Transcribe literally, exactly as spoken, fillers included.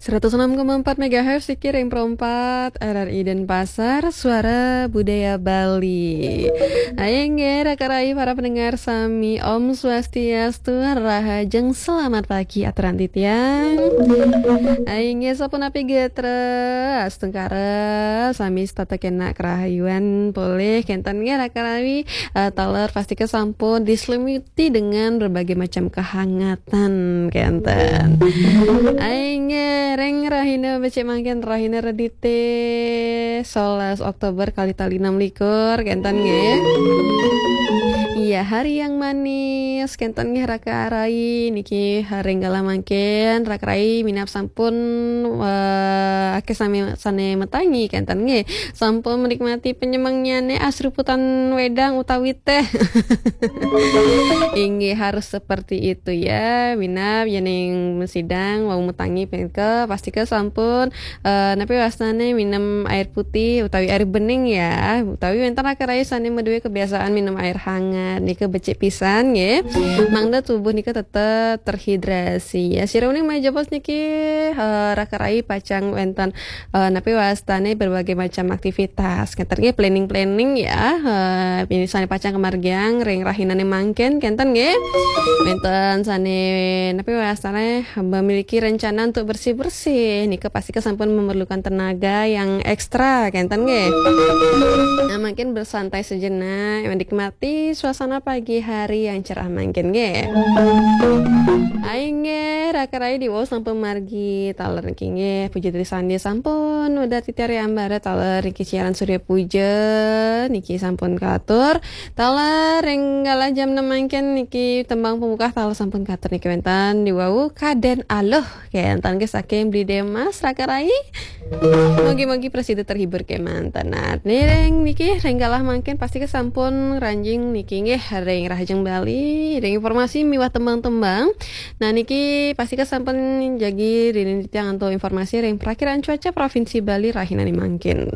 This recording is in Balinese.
Seratus enam koma empat megahertz, Sikir yang perempat, R R I Denpasar, Suara Budaya Bali. Ayo nggih, raka rai para pendengar sami, Om Swastiastu, rahajeng selamat pagi, aturan titiang. Ayo nggih, sapunapi gatra, astungkara, sami setata kena kerahayuan, polih, kenten nggih, raka rai, eh, taler pastika sampun diselimut dengan berbagai macam kehangatan, kenten. Ayo nggih, ring rahina becik mangkin, rahina Redite, sebelas Oktober kali tali enam likur, kenten nggih. Iya, hari yang manis, kenten nggih raka rai, niki hari galah mangkin, raka rai minab sampun, eh, akeh sami sane metangi, kenten nggih. Sampun menikmati penyemangnyane asruputan wedang utawi teh. Inggih, harus seperti itu ya, minab yening sidang wau metangi punika, pastika sampun, eh, napi wastane minum air putih utawi air bening ya, utawi wenten raka rai sane maduwe kebiasaan minum air hangat, nika becik pisan nggih. Mangda tubuh nika tetep terhidrasi ya. Sira uning majapos niki, eh, raka rai pacang wenten, eh, napi wastane berbagai macam aktivitas. Kenten nggih, planning-planning ya. Eh, misalnya pacang kemargiang ring rahinane mangkin, kenten nggih. Wenten sane napi wastane memiliki rencana untuk bersih-bersih. Nika pastika sampun memerlukan tenaga yang ekstra, kenten nggih. Nah, mungkin bersantai sejenak, menikmati suasana pagi hari yang cerah mangkin nggih. Ayo nggih, raka rai diwau sampun margi taler niki nggih, puja trisandya sampun udah titiang ambara taler niki siaran Surya Puja niki sampun katur. Taler ring galah jam enam mangkin niki tembang pembuka taler sampun katur niki wenten diwau Kaden Aluh, kenten nggih saking Bli Demas, raka rai. Mugi-mugi prasida terhibur kemanten. Nah, ring niki ring galah mangkin pastika sampun ngranjing niki nggih ring Rahajeng Bali, ring informasi miwah tembang-tembang. Nah, niki pastika sampun jagi ring titiang antuk informasi ring Prakiraan Cuaca Provinsi Bali rahinane mangkin.